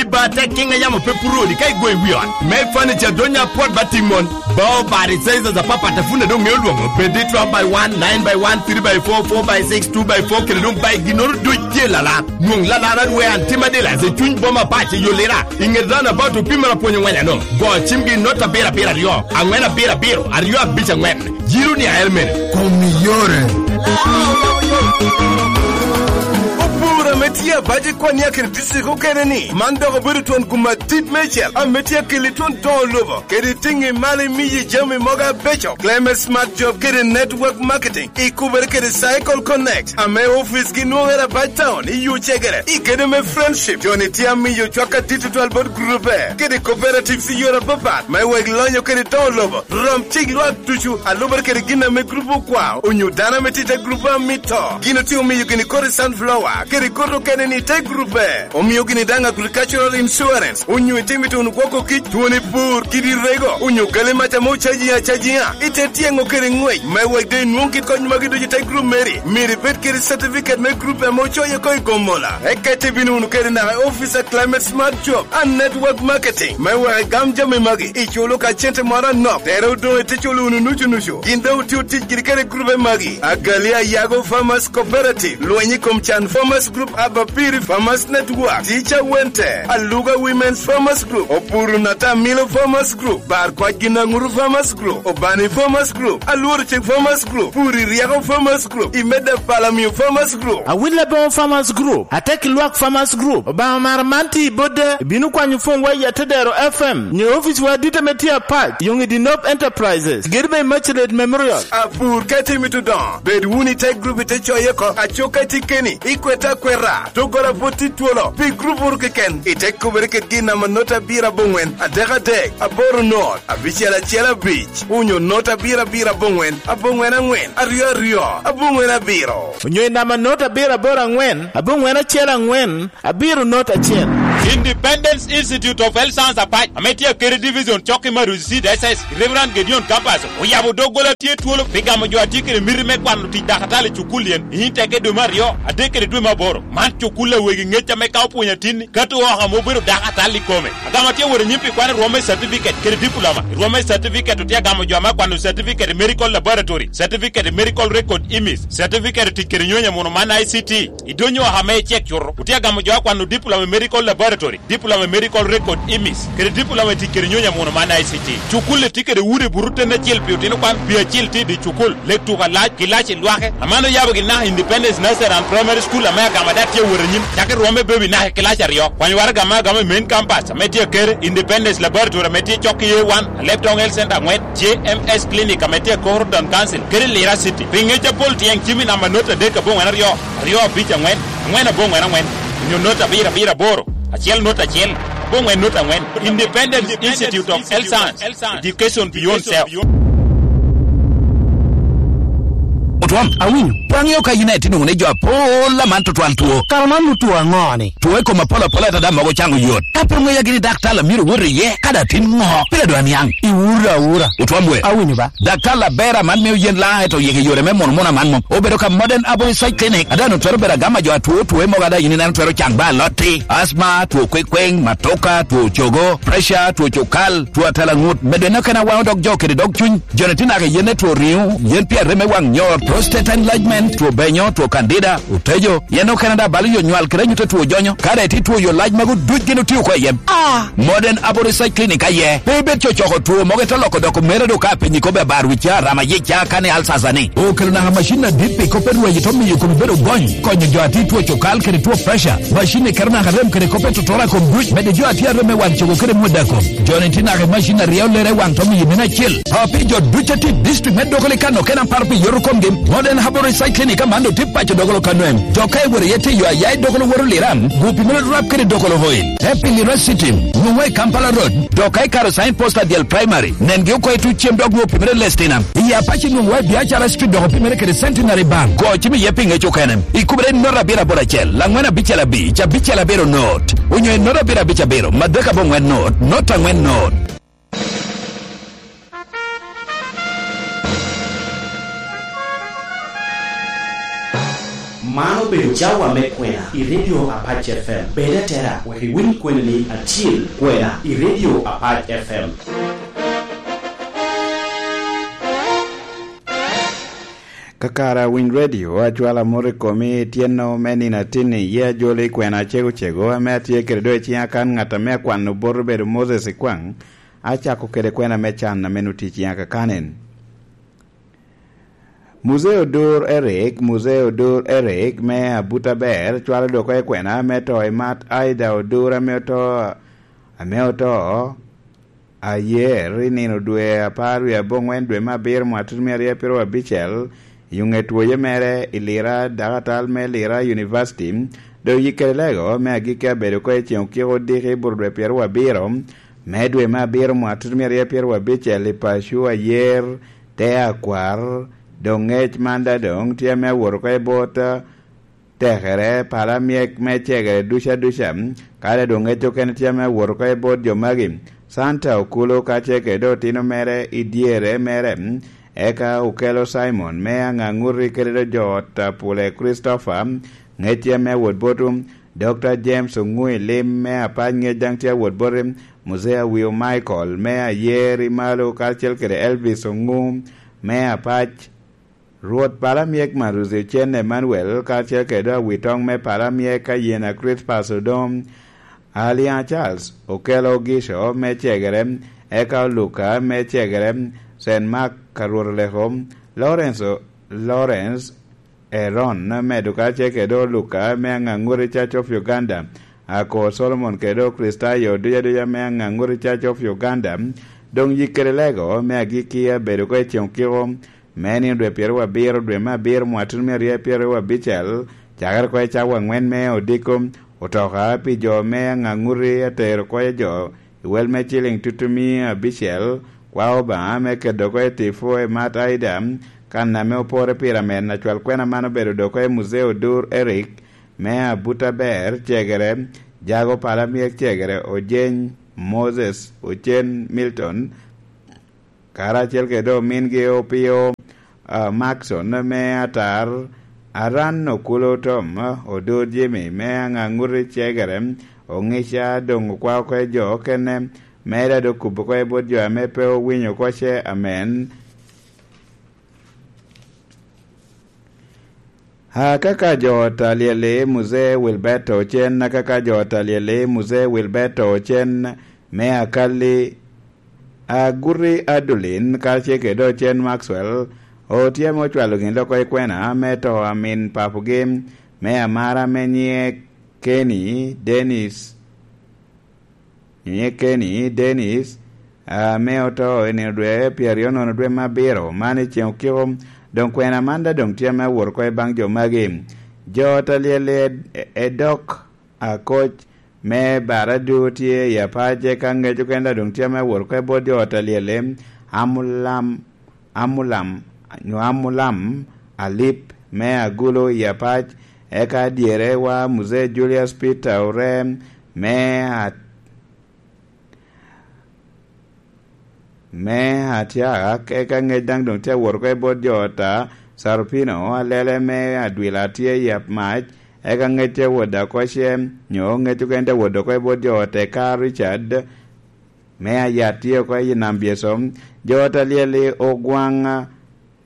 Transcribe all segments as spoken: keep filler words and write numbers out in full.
Ba tek kiŋ a yamo pe puro odi ka igo i wi ot. Me furniture donya apwot ba timon. Bao bari sizes apapat a funda doŋ ŋeo lwoŋo. Bed i twelve by one, nine by one, three by four, four by six, two by four, kede doŋ by ginnoro duc tye lala. Nwoŋ lala na rwe an tim adila i cuny boma pac i Yolira. I ŋet roundabout opimere apwony ŋweny ano. Go cimgi i not abiro abiro aryo, aŋwen abiro abiro, aryo abic aŋwen. Jiro ni ael mene. Kom i yore. Opur ame tye abac i Kwania kede dicitrik okene ni, man dok obedo twon gum adit meicel ame tye akeli twon doŋo lobo kede tiŋi malo imiyi jami mogo abeco. Climate Smart Job kede Network Marketing ikubere kede Cycle Connect ame ofice gi nwoŋere abac town i Yucegere. I kede me Friendship, joni tye amiyo cwak adit tutwal bot grupe kede cooperatives i yore apapat me wek lonyo kede doŋo lobo. Rom cik lwak ducu a lubere kede gin ame grup okwao, onyo dano ame tye i te grup a mito. Gin otye omiyo gini kodi sunflower kede kodi okene ni te grupe. Omio gini daŋ agricultural insurance, onyo itimo ituno gwoko kic, twoni pur, kidi rego, onyo gali mac ame ocaji acajiŋa. Ite tyeŋo kede ŋwec me wek de inwoŋ kit kony magi ducu i te grup meri. Myero ibed kede certificate me grup ame ocoyo oko i Gomola. Eka ite bino wunu kede naka i office a Climate Smart Job and Network Marketing me wek igam jami magi. Iculo ka cente moro anok, tere odoŋ ite culo wunu nucu nucu. Gin doŋ otio tic kede kede grube magi. Agali Ayago Farmers Cooperative, Lweny i kom Can Farmers Group, Abapiri Farmers Network, Tica Wente, Aluga Women's Farmers Group, Opuru Natamilo Farmers Group, Bar Kwac Ginaŋuru Farmers Group, Obani Farmers Group, Alworo Cik Farmers Group, Puri Ryeko Farmers Group, Imeda Palamio Farmers Group. Awil Aboŋo Farmers Group, Atek Lwak Farmers Group, Obaŋa mara man tye i Bodda, ibino kwanyo pwonywa i Atedero F M, nyo oficwa adit ame tye apac, Yoŋ i Dinop Enterprises, gedo me Immaculate Memorial. Apur ka itimo itudoŋo, bed wunu i te grup ite coye oko, acuk ka itye keni, ikwete akweta, doggola pwod tye twolo, pi grup wunu keken, ite kubere kede gin namba not abiro aboŋwen, adek adek, aboro not, abicel acel abic, onyo not abiro abiro aboŋwen, aboŋwen aŋwen, aryo aryo, aboŋwen abiro. Onyo i namba not abiro aboro aŋwen, aboŋwen acel aŋwen, abiro not acel. Independence Institute of Health Science Apac, ame tye akede division cok i Maruzi C D S S, Reverend Gedeon Campus, oyabo doggola tye twolo pi gamo jo a tye kede miti me kwano tic dakatali i cukul yen, i Inteke dwe me aryo, adek kede dwe me aboro. Man cukul a wegi ŋec ame ka opwonyo atinni, kato oko ame obedo dakatali i kome. Agamo atye wot anyim pi kwano rwom me certificate kede diploma. I rwom me certificate otye agamo jo ame akwano certificate i medical laboratory, certificate i medical record imis, certificate i tic kede nyonya muno man I C T. I donyo oko ame icek cuto, otye agamo jo akwano diploma i medical laboratory, diploma i medical record imis, kede diploma i tic kede nyonya muno man I C T. Cukul-li tye kede udi buto ten acel pi otino kwan, pi acel tye i dye cukul, lek tuko alac, kilaci lwake. Aman oyabo gin naka Independence Nursery and Primary School ame agamo ada tye awot anyim, cakki rwom me baby naka i kilaci aryo. Kwany waraga ame agamo i main campus ame tye akere, Independence Laboratory ame tye cok i A one, Alebtong Health Center aŋwen, J M S Clinic ame tye akoro Town Council, kede Lira City. Pi ŋec apol tyen cim i namba not adek aboŋwen aryo, aryo abic aŋwen, aŋwen aboŋwen aŋwen, onyo not abiro abiro aboro, acel not acel, aboŋwen not aŋwen. Independence Institute of Health Science, Education Beyond Self. Otwom, awinyo. Pwony oko a yin aye tye nwoŋo ni jo apol aman tutwal two. Kara man otwo aŋo-ni? Two i kom apol apol atada mogo caŋo yot. Ka pe ŋeya gini daktar a myero wot iye, kadi atin ŋo, pire dwa niaŋ. Iwura awura. Otwom we. Awinyo ba. Daktar aber aman mio yen laŋ eto yeke yore me mono mono aman mom. Obedo ka Modern Herbal Research Clinic, ada no twero bedo agama jo atwo two mogo ada yin ineno twero caŋ ba alotti. Asma, two kwekweŋ, matoka, two cogo, pressure, two cukal, two atalaŋut, medo eno kena waŋo dog jo kede dog cuny. Joni tye naka i yen me two riŋo, yen pi arem me waŋ nyor, prostate enlargement, two benyo, two candida, otejo, yen okene daŋ balo yo nywal kede anyut a two jonyo, ka daŋ itye two yo lac magu duc gin otio oko i yem. Ah! Modern Herbal Research Clinic aye. Pe ibed cocoko two mogo ite loko dok omere do ka piny ikobe abar wica, rama yica, kani alsasa ni. Okelo naka macin adit pi kop me rweny ito miyo komi bedo gony, konyo jo a tye two cukal kede two pressure. Macin ni keto naka rem kede kop me totora kom duc, medo jo a tye arem me wan cogo kede mweda kom. Joni tye naka i macin a ryeo lere i waŋ to miyo mene acel. Api jo duc a tye i district me Dokolo i kano kena paro pi yoto komgi, Modern Herbal Research Clinic aman otye paco Dokolo kano em. Dok ka iwero iye tiyo aya i Dokolo woto Liram, gu pi mene rap kede Dokolo Oil. Te pi Lira City, nwoŋo i Kampala Road, dok ka ikaro sign post adyel primary, nengi oko i tuc cem dok nwoŋo pi mene Lestina. I Apac nwoŋo i Biacara Street dok pi mene kede Centenary Bank. Go cim iye pi ŋec okene. Ikubere i not abiro aboro acel, laŋwen abicel abic, abicel abiro not. Onyo i not abiro abic abiro, madek aboŋwen not, not aŋwen not. Man obedo cawa me kwena i Radio Apac F M. Bed atera wek iwiny kwena ni acil kwena i Radio Apac F M. Kakara winy redio, acwala mot i komi i tyeno me nino atinni, ye ajolo i kwena acego cego ame atye kede do i ciŋa kan ŋat ame akwano bot obedo Moses i kwaŋ, acako kede kwena me can ame nutye i ciŋa kakanen. Muzee Odur Eric, Muzee Odur Eric me Abuta Ber, cwalo doko i kwena me to i mat Aida Odur ame oto, ame oto ayer i nino dwe apar wie aboŋwen dwe me abiro mwaka tutumia aryo pyero abicel, i ŋet woye mere i Lira, dakatal me Lira University, dok yikke lego me agikki abedo ko i ceŋ okiko odiki i bur dwe pyero abiro me dwe me abiro mwaka tutumia aryo pyero abicel i paco ayer, te akwar, dok ŋec man da doŋ tye ame awot oko i bot, tekere, pala myek me cegere duca duca, kadi doŋ ŋec okene tye ame awot oko i bot jo magi. Santa Okulu kacel kede otino mere i dyere mere, eka okelo Simon me Aŋaŋuti kede do jo ot Apule Christopher, ŋec tye ame awot botwu. Doctor James Oŋui Lim me Apac, ŋec daŋ tye awot boti. Muzee Awio Michael me Ayer i Malo, karacel kede Elvis Oŋu me Apac. Rwot Palamyek Maruzi Ocen Emmanuel, karacel kede Awitoŋ me Palamyek Ayena Crispas Odom, Aliaŋ Charles Okelo Gico me Cegere, eka Oluka me Cegere, Saint Mark Karwot Oleko, Lawrence, Lawrence Eron me Dukace kede Oluka me Aŋaŋuri Church of Uganda, Ako Solomon kede Okristayo duc aduca me Aŋaŋuri Church of Uganda, doŋ yik kede lego me agikki abedo oko i ceŋ okiko, me nino dwe pyeraryo abiro dwe me abiro mwaka tutumia aryo pyeraryo abicel, cakere oko i cawa aŋwen me odiko, otoka pi jo me Aŋaŋuri atero oko i jo i wel me ciliŋ tutumia abicel, kwao Obaŋa me keto oko i tipo i mat Aida, kan ame opore pire amen. Acwal kwena man obedo dok oko i Muzee Odur Eric me Abuta Ber Cegere, Jago Palamyek Cegere, Ojeny Moses, Ocen Milton, karacel kede omingi Opio, ah, Maxon me Atar, Aran Okulu Tom, Odur Jimmy me Aŋaŋuti Cegere, Oŋica doŋ okwao oko i jo okene, me dado kubo oko i bot jo ame pe owinyo oko ce amen. Akaka jo ot a lyel-li, Muzee Wilberto Ocen, akaka jo ot a lyel-li, Muzee Wilberto Ocen me Akalli, Aguti Adulin, karacel kede Ocen Maxwell, otye ame ocwalo gin loko i kwena me to a min papugi me amara ame nyiŋe Kenny Dennis. Nyiŋe Kenny Dennis, ame oto i nino dwe pyeraryo nono dwe me abiro, man i ceŋ okiko, doŋ kwena man daŋ doŋ tye ame awot oko i baŋ jo magi. Jo ot a lyel-li ed-, edok akoc me Baradu tye i Apac, eka ŋec okene daŋ doŋ tye ame awot oko i bot jo ot a lyel-li, Amulam, Amulam, nyo Amulam Alip me Agulu i Apac, eka dyere wa Muzee Julius Peter Orem me a-, me Atiak, eka ŋec daŋ doŋ tye awot oko i bot jo ot a Sarupino, alele me Adwila tye i Apmac, eka ŋec tye awot oko ce, nyo ŋec okene tye awot oko i bot jo ot eka Richard me Ayat tye oko i Nam Byeso. Jo ot a lyel-li Ogwaŋ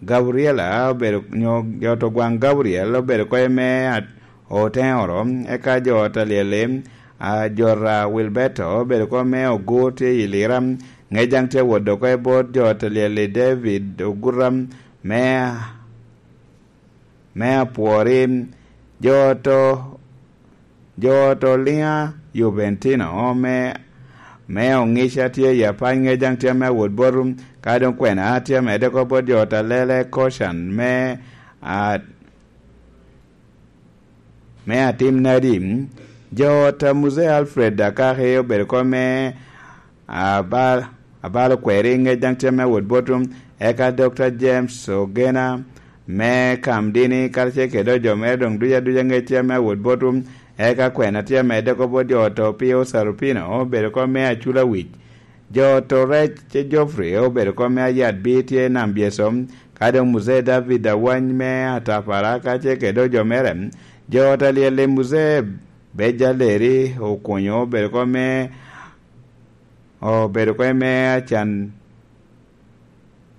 Gabriela obedo, nyo jo ot Ogwaŋ Gabriel obedo oko i me a-, Oteŋoro, eka jo ot a lyel-li, a, Jota Wilberto obedo oko me Ogur tye i Lira, ŋec daŋ tye awot oko i bot jo ot a lyel-li David Oguta me, me Apwori, jo ot o-, jo ot Oliŋa Juventino me, me Oŋica tye i Apac, ŋec daŋ tye ame awot botu, ka doŋ kwena tye amedde oko bot jo ot Alele Koshan me, a, me Atim Nadi. Jo ot a Muzee Alfred Akaki obedo oko me Abal, Abalo Kweri, ŋec daŋ tye ame awot botu, eka Doctor James Ogena me Kamdini, karacel kede jo mere doŋ duc aduca ŋec tye ame awot botu, eka kwena tye amedde oko bot jo ot Opio Sarupino obedo oko me Aculawic. Jo ot Orec Geoffrey obedo oko me Ayat Bi tye i Nam Byeso, Ka doŋ Muzee David Awany me Atapara kacel kede ojo mere, jo ot alyel i Muzee Beja Leri okunyo obedo kop me, obedo kop me acan,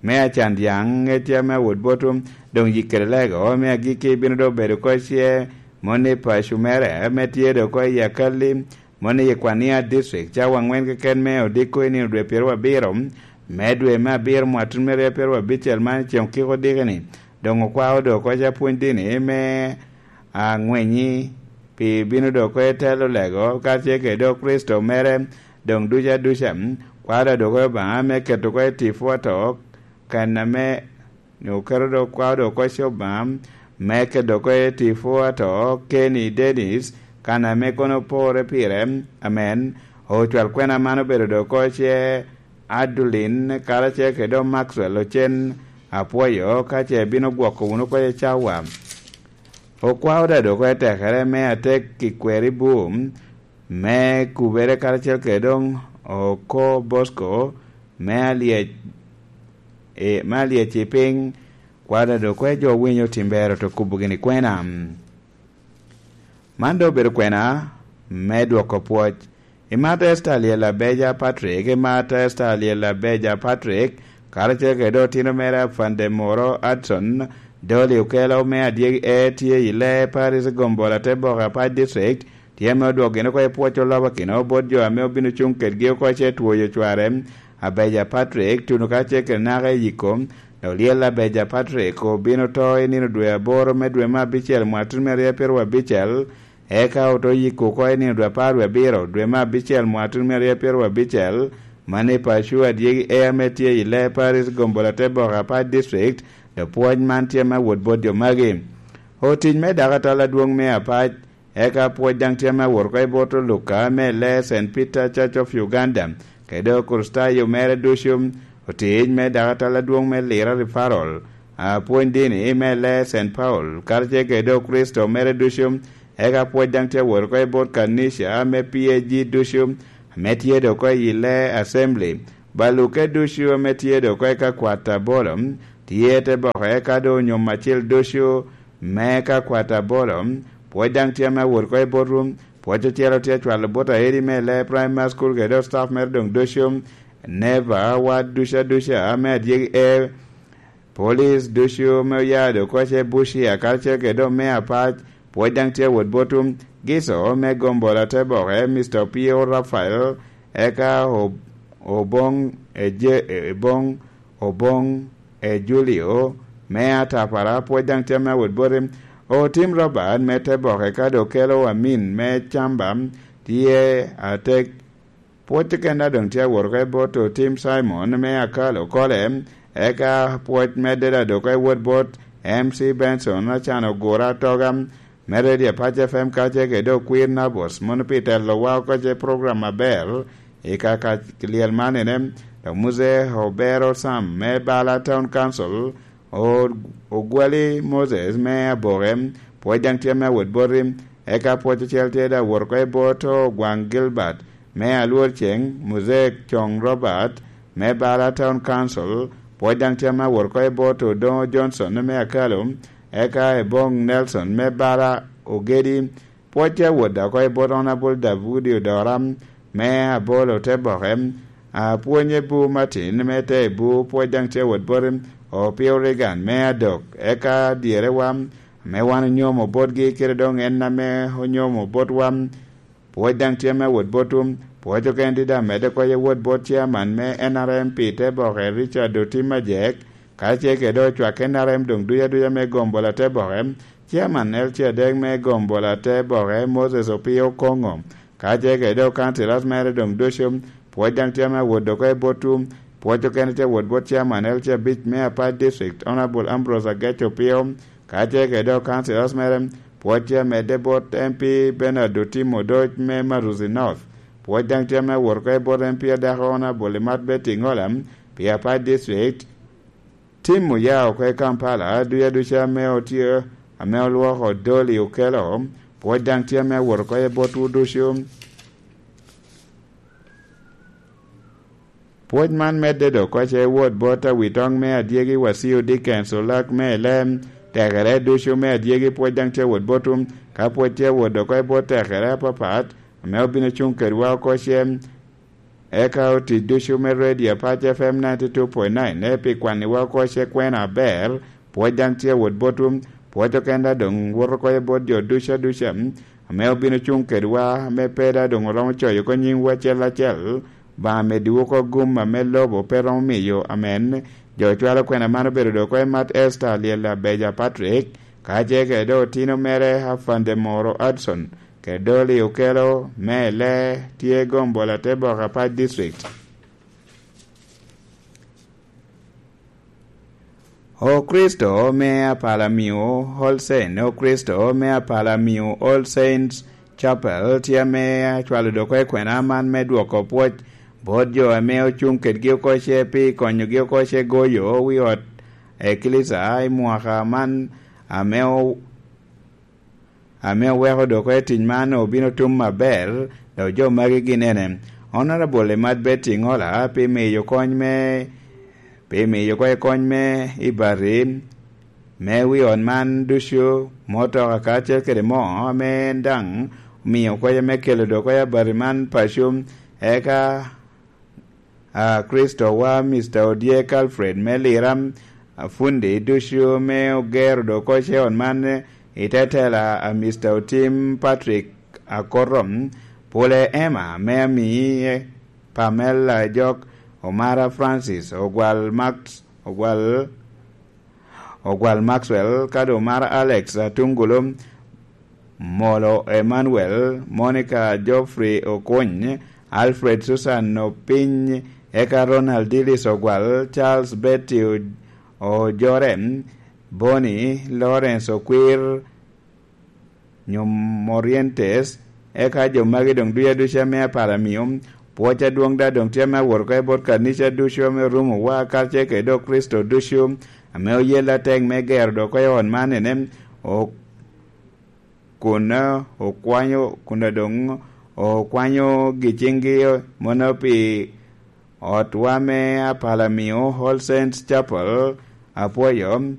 me acan dyaŋ, ŋec ame awot botwu, doŋ yik kede lego me agikki bino doŋ bedo kop ce moni paco mere ame tye doŋ kop i Akali, moni i Kwania District, cawa aŋwen keken me odiko i nino dwe pyeraryo abiro me dwe me abiro mwatun me ryo pyeraryo abicel man i ceŋ okiko odiki-ni. Doŋ okwao doŋ kop apwony dini me aŋwenyi pi bino doŋ kop i telo lego, kacel kede doŋ Kricito mere, doŋ duca duca, kwao doŋ kop Obaŋa me keto kop i tipo ato, kan ame oketo doŋ kwao doŋ kop Obaŋa me keto kop i tipo ato, Kenny Dennis, kan ame kono opore pire, amen. Ocwal kwena man obedo doŋ kop ce Adulin, karacel kede doŋ Maxwell Ocen, apwoyo ka ce bino gwoko wunu kop i cawa. Okwao daŋ doŋ kop i tekere me atek i kweri bum, me kubere karacel kede doŋ oko Bosco, me alyec, e, me alyec i piny, kwao daŋ doŋ kop jo winyo tim ber oto kubo gini kwena. Man doŋ obedo kwena me dwoko pwoc. Imat Esther Alyel Abeja Patrick, imat Esther Alyel Abeja Patrick, karacel kede otino mere Afande Moro Adson, Dolly Okelo me Adyegi E tye i Lee Paris Gombola te Boke Apac District, tye ame odwok gin oko i pwoc olobakino bot jo ame obino cuŋ kedgi oko ce twoyo cware, Abeja Patrick, tuno kacel kede naka i yiko, Olyel Abeja Patrick obino to i nino dwe aboro me dwe me abicel mwatun me ryo pyeraryo abicel, eka oto yiko oko i nino dwe apar wie abiro dwe me abicel mwatun me ryo pyeraryo abicel, man i paco Adyegi E ame tye i Lee Paris Gombola te Boke Apac District, dok pwoc man tye me wot bot jo magi. Otic me dakatal adwoŋ me Apac, eka pwoc daŋ tye me awot oko i bot Oluka me Lee Saint Peter Church of Uganda, kede Okricitayo mere ducu, otic me dakatal adwoŋ me Lira Referral, apwony dini me Lee Saint Paul, karacel kede Okricito mere ducu, eka pwoc daŋ tye awot oko i bot kanica me P A G ducu, ame tye doŋ oko i Lee Assembly, baluke ducu ame tye doŋ oko i kakwat abolo, tye te boke eka doŋ onyom acil ducu, me ka kwat abolo, pwoc daŋ tye ame awot oko i botwu, pwoc ocel tye acwalo bot aeri me Lee Primary School kede staff mere doŋ ducu, neighbor wa duca duca ame Adyegi E, police ducu me oya doŋ oko ce Bushia karacel kede doŋ me Apac, pwoc daŋ tye awot botwu, Giso me Gombola te Boke, Mister Opio Raphael, eka O-, Oboŋ, Eje-, Eboŋ, Oboŋ, e Julio me Atapara, pwoc daŋ tye ame awot boti. Otim Robert me te Boke ka doŋ kelo Amin me Camba, tye atek. Pwoc keken a doŋ tye awot oko i bot Otim Simon me Akalo Kole, eka pwoc medde daŋ doŋ oko i wot bot M C Benson Acan Ogura Atoga, me Radio Apac F M kacel kede Okwir Nabos, mono pi telowa oko ce program aber i ka, ka lyel man ene, dok Muse Obero Sam me Bala Town Council, O-, Ogwali Moses me Aboke, pwoc daŋ tye me awot boti, eka pwoc ocel tye daŋ awot oko i bot Ogwaŋ Gilbert me Alwor Ceŋ, Muse Coŋ Robert me Bala Town Council, pwoc daŋ tye me awot oko i bot Odoŋo Johnson me Akalo, eka Eboŋ Nelson me Bala Ogedi, pwoc tye awot oko i bot Honourable Daudi Odora me Abolo te Boke, apwony Ebu Martin me te Ebu, pwoc daŋ tye awot boti, Opio Reagan me Adok, eka dyerewa, ame wan onyomo botgi, kede doŋ en ame onyomo botwa, pwoc daŋ tye me awot botwu, pwoc okene tye daŋ medde oko i awot bot chairman me N R M pi te Boke Richard Otim Ajek, kacel kede ocwak N R M doŋ duc aduca me Gombola te Boke, chairman L C adek me Gombola te Boke Moses Opio Koŋo, kacel kede councillors mere doŋ ducu, pwoc daŋ tye ame awot oko i botwu, pwoc okene tye awot bot chairman L C abic me Apac District, Honourable Ambrose Agech Opio, kacel kede councillors mere, pwoc tye amedde bot M P Bernard Otim Odoc me Maruzi North, pwoc daŋ tye ame awot oko i bot M P adako Honourable Imat Betty Ngola pi Apac District, Tim oya oko i Kampala, duc aduca ame otye, ame olwoko Dolly Okello, pwoc daŋ tye ame awot oko i botwu ducu. Pwoc man medde dok koce wot bot awitoŋ me adyegi Wasio Dickens, olak me elem, tekere ducu me adyegi pwoc daŋ tye wot botwu. Ka pwoc tye wot dok koce bot tekere apapat, ame obino cuŋ kedwa oko cem, eka otic ducu me redio Apac F M ninety two point nine ne pi kwanniwa oko ce kwena aber, pwoc daŋ tye wot botwu. Pwoc oken daŋ doŋ woto oko bot jo ducu aduca, ame obino cuŋ kedwa, ame pe daŋ doŋ oromo coyo oko nyiŋwu acel acel. Obaŋa meddiwu oko gum ame lobo pe romo miyo. Amen. Jo cwalo kwena man obedo dok oko i Mat Esther Lyella Beja Patrick, kacel kede doŋ otino mere Afande Moro Adson, kede doŋ Liokelo me Ele tye Gombola te Boka Pac District. Okricito me Apalamio All Saints, Okricito me Apalamio All Saints Chapel tye ame acwalo dok oko i kwena man me dwoko pwoc bot jo ame ocuŋ kedgi oko ce pi konyogi oko ce goyo wi ot eklisa i mwaka man, ame o-, ame oweko dok oko i tic man obino tum aber. Dok jo magi gin ene: Honorable Imat Betty Ngola pi miyo kony me, pi miyo kony me i bati me wi ot man ducu, motoka kacel kede moo ame en daŋ omio kweca me kelo dok oko i abati man paco. Eka a Kricito wa Mister Odyek Alfred me Lira, a fundi ducu me ogero dok oko ce ot man i te tela a Mister Otim Patrick Akoto, Pule Emma me Amii, Pamela Jok, Omara Francis, Ogwal Max, Ogwal Ogwal Maxwell, ka doŋ Omara Alex Atungulu, Molo Emmanuel, Monica Geoffrey Okuny, Alfred Susan Opiny, eka Ronald Dillis Ogwal, Charles Betty O-, Ojore, Bonnie Lawrence Okwir, nyo Morientes, eka jo magi doŋ ducu aduca me Apalamio. Pwoc adwoŋ daŋ doŋ tye ame awot oko i bot kanica ducu ame orumo wa, kacel kede dok Kricito ducu, ame oyelle atek me gero dok oko i ot man ene, o-, kun okwanyo, kun doŋ okwanyo gi ciŋgi mono pi otwa me Apalamio All Saints Chapel. Apwoyo.